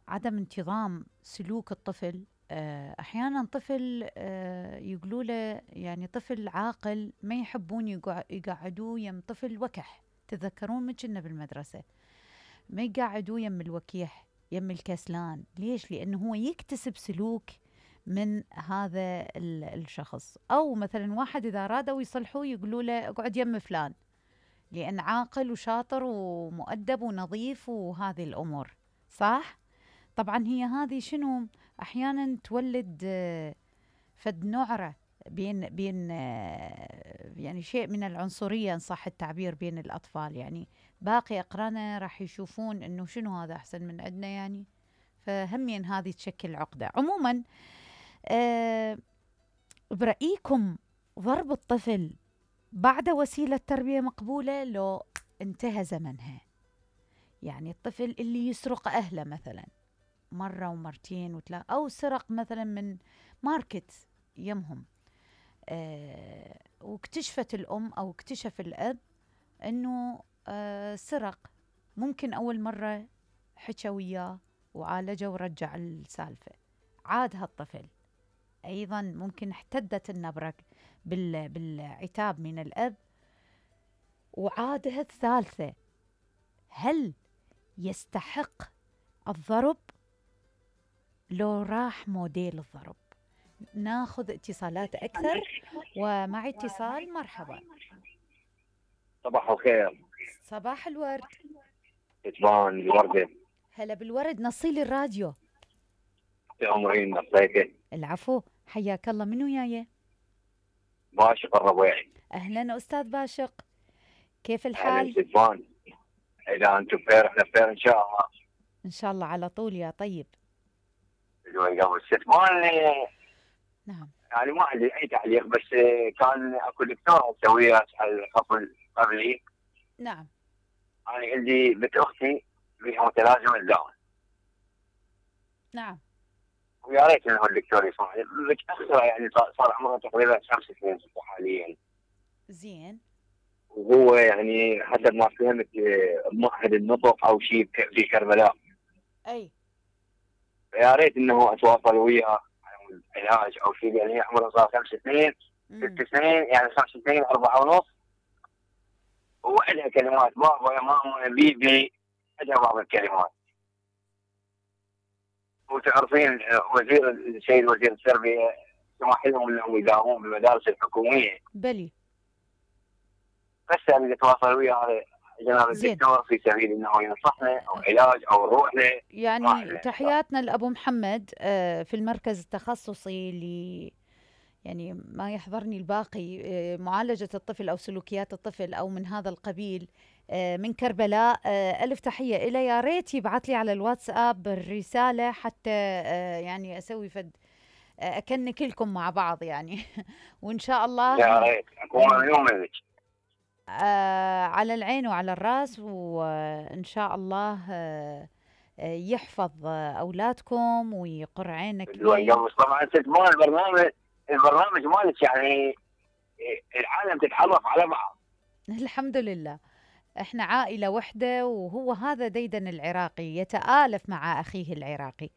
عدم انتظام سلوك الطفل. أحيانا طفل يقولوا له يعني طفل عاقل ما يحبون يقعدوه يم طفل وكح. تذكرون من كنا بالمدرسة ما يقعدوه يم الوكيح يم الكسلان. ليش؟ لأنه هو يكتسب سلوك من هذا الشخص. أو مثلا واحد إذا رادوا يصلحوه يقولوا له اقعد يم فلان لأن عاقل وشاطر ومؤدب ونظيف وهذه الأمور. صح؟ طبعا هي هذه شنو أحيانا تولد فد نعرة بين يعني شيء من العنصرية إن صح التعبير بين الأطفال. يعني باقي أقرانه راح يشوفون إنه شنو هذا أحسن من عندنا يعني. فهمين هذه تشكل عقدة. عموما برأيكم ضرب الطفل بعد وسيلة تربية مقبولة لو انتهى زمنها؟ يعني الطفل اللي يسرق أهله مثلا مرة ومرتين وثلاث، أو سرق مثلا من ماركت يمهم، واكتشفت الأم أو اكتشف الأب أنه سرق. ممكن أول مرة حكى وياه وعالجه ورجع السالفة، عاد هالطفل أيضا ممكن احتدت النبرة بالعتاب من الأب وعادها الثالثة. هل يستحق الضرب لو راح موديل الضرب؟ ناخذ اتصالات أكثر. ومع اتصال مرحبا. صباح الخير. صباح الورد. كتبان الوردة. هلا بالورد. نصيلي الراديو. تأمرين نصيحة. العفو، حياك الله. منو وياي؟ باشق الربيعي. أهلا أستاذ باشق، كيف أهلا الحال؟ كتبان. إذا أنتم بخير إحنا بخير إن شاء الله. إن شاء الله على طول يا طيب. قبل كتبان نعم. يعني ما عندي أي تعليق، بس كان أكو دكتورة تسويها تسأل قبلي. نعم. أنا عندي بنت أختي بها متلازمة داون. نعم. ويا ريت إنه الدكتور يسمعني متأخرة، يعني صار عمرها تقريبا 5 سنين حاليا. زين. وهو يعني حسب ما فهمت معهد النطق او شيء في كربلاء. اي. يا ريت انه اتواصل وياه على علاج او شيء، لان هي عمرها صار 5 سنين 6 سنين، يعني 5 سنين 4 ونص. وعندها كلمات بابا يا ماما بيبي، عندها بعض الكلمات. وتعرفين السيد وزير التربيه سمح لهم انهم يداومون بالمدارس الحكوميه. بلي. بس اريد اتواصل ويا جناب الدكتور في سبيل انه ينصحنا او علاج او نروح له. يعني تحياتنا لابو محمد في المركز التخصصي يعني ما يحضرني الباقي معالجة الطفل أو سلوكيات الطفل أو من هذا القبيل من كربلاء. ألف تحية إلى. يا ريت يبعث لي على الواتساب الرسالة حتى يعني أسوي فد أكنك لكم مع بعض يعني. وإن شاء الله يا ريت أكون مليون منك. على العين وعلى الراس. وإن شاء الله يحفظ أولادكم ويقر عينك لي. طبعا تسمعون البرنامج مالك، يعني العالم تتعرف على بعض. الحمد لله احنا عائلة وحدة، وهو هذا ديدن العراقي يتآلف مع أخيه العراقي.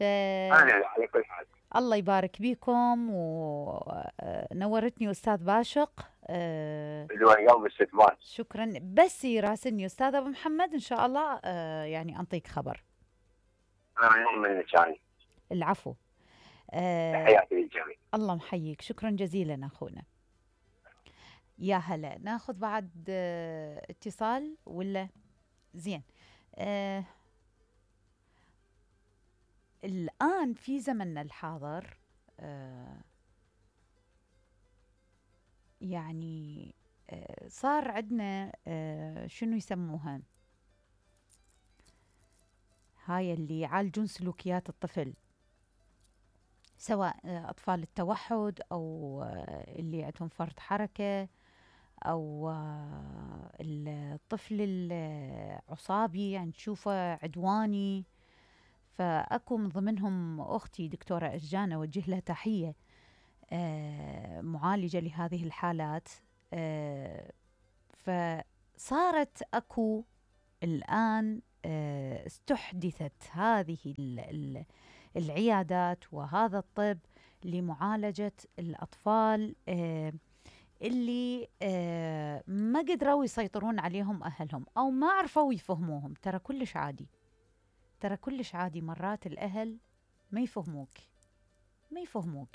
على كل حال الله يبارك بيكم. ونورتني أستاذ باشق. قلب الاستثمار. شكرا. بس يراسلني أستاذ أبو محمد إن شاء الله يعني أنطيك خبر. أنا من الثاني. العفو. تحياتي للجميع. الله محييك. شكرا جزيلا أخونا. يا هلا. ناخذ بعد اتصال ولا؟ زين. الآن في زمننا الحاضر يعني صار عندنا شنو يسموها هاي اللي يعالجون سلوكيات الطفل، سواء أطفال التوحد أو اللي عندهم فرط حركة أو الطفل العصابي يعني تشوفه عدواني. فأكو من ضمنهم أختي دكتورة أشجان أوجه لها تحية، معالجة لهذه الحالات. فصارت أكو الآن استحدثت هذه العيادات وهذا الطب لمعالجة الأطفال اللي ما قدروا يسيطرون عليهم أهلهم أو ما عرفوا يفهموهم. ترى كلش عادي، ترى كلش عادي مرات الأهل ما يفهموك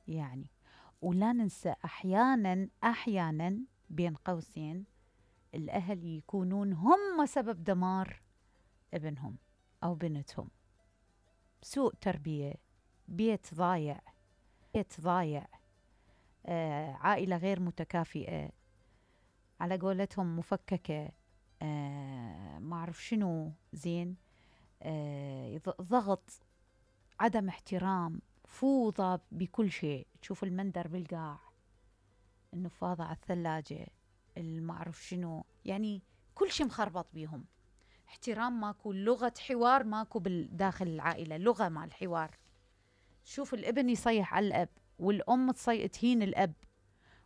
يعني. ولا ننسى أحيانا بين قوسين الأهل يكونون هم سبب دمار ابنهم أو بنتهم. سوء تربية، بيت ضايع، عائلة غير متكافئة، على قولتهم مفككة، ما أعرف شنو زين، ضغط، عدم احترام، فوضى بكل شيء. تشوف المندر بالقاع، النفاضة على الثلاجة، ما أعرف شنو، يعني كل شيء مخربط بيهم. احترام ماكو، لغة حوار ماكو داخل العائلة، لغة مع الحوار. شوف الابن يصيح على الأب، والأم تهين الأب،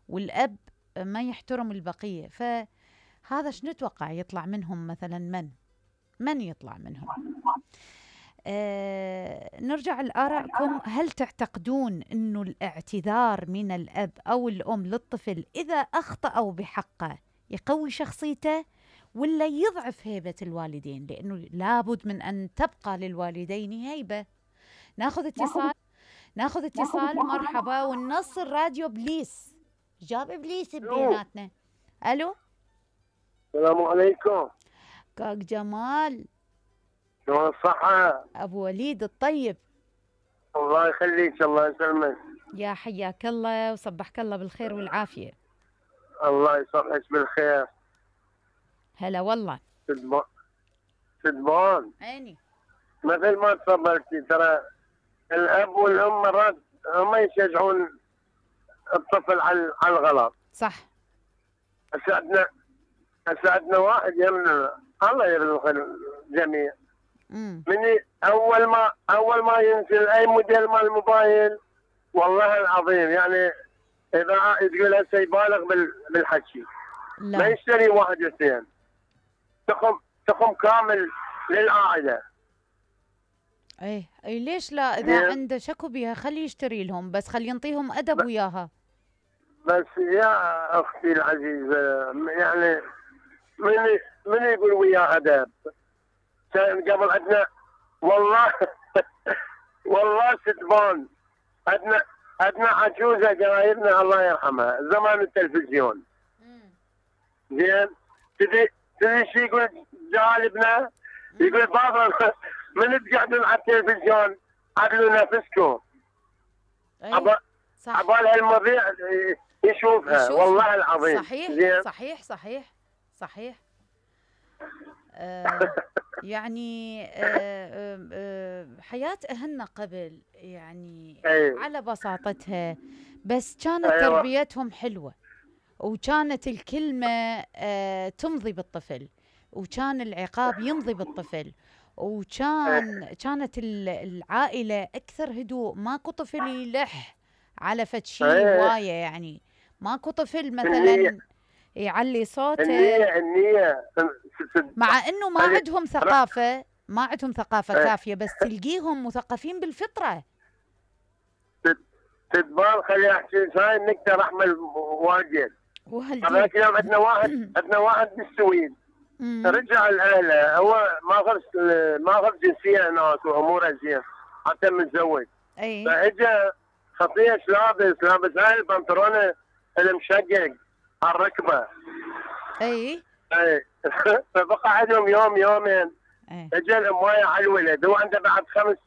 والأب ما يحترم البقية. فهذا شنو نتوقع يطلع منهم مثلا؟ من يطلع منهم؟ نرجع لآرائكم. هل تعتقدون أنه الاعتذار من الأب أو الأم للطفل إذا أخطأوا بحقه يقوي شخصيته ولا يضعف هيبة الوالدين؟ لأنه لابد من أن تبقى للوالدين هيبة. ناخذ اتصال. مرحبا. والنص الراديو بليس، جاب إبليس بيناتنا. ألو، السلام عليكم. كاك جمال، شلون الصحة؟ أبو وليد الطيب. الله يخليك، الله يسلمك. يا حياك الله وصبحك الله بالخير والعافية. الله يصبحك بالخير. هلا والله. سدبان عيني. مثل ما تفضلتي، ترى الأب والأم مرات هم يشجعون الطفل على الغلط. صح. أسعدنا واحد يمنع، الله يرزق الجميع. من أول ما ينزل أي موديل مال الموبايل، والله العظيم يعني إذا تقول هسه يبالغ بالحكي. لا. ما يشتري واحد اثنين، تخم كامل للعائلة. اي ليش لا؟ اذا عنده شكو بيها خليه يشتري لهم، بس خليه ينطيهم ادب وياها. بس يا اختي العزيزة، يعني من يقول وياه ادب؟ كان قبل عندنا والله ستبان، عندنا عجوزة قرايبنا الله يرحمها زمان التلفزيون. زين، تدري شو يقول جالبنا؟ يقول بابا من تقعدون على التلفزيون عدلوا نفسكم. صح. عبال هالمذيع يشوفها والله العظيم. صحيح. زين؟ صحيح. يعني حياة أهلنا قبل يعني على بساطتها، بس كانت تربيتهم حلوة، وكانت الكلمة تمضي بالطفل، وكان العقاب يمضي بالطفل، كانت العائلة أكثر هدوء. ماكو طفل يلح على فد شي هواية، يعني ماكو طفل مثلا يعلي صوته. النية مع انه ما عندهم ثقافة كافية، بس تلقيهم مثقفين بالفطرة. تدبال خلي احكي هاي النكتة رحمة واجد. هذاك اليوم عندنا واحد بالسويد، رجع لاهله، هو ما غرس جنسية هناك واموره زين، حتى متزوج. فاجا خطية لابس هاي البنطلون المشقق على الركبة. اي فبقى عندهم يوم يومين. اجى الاموايه على الولد، هو عنده بعد 5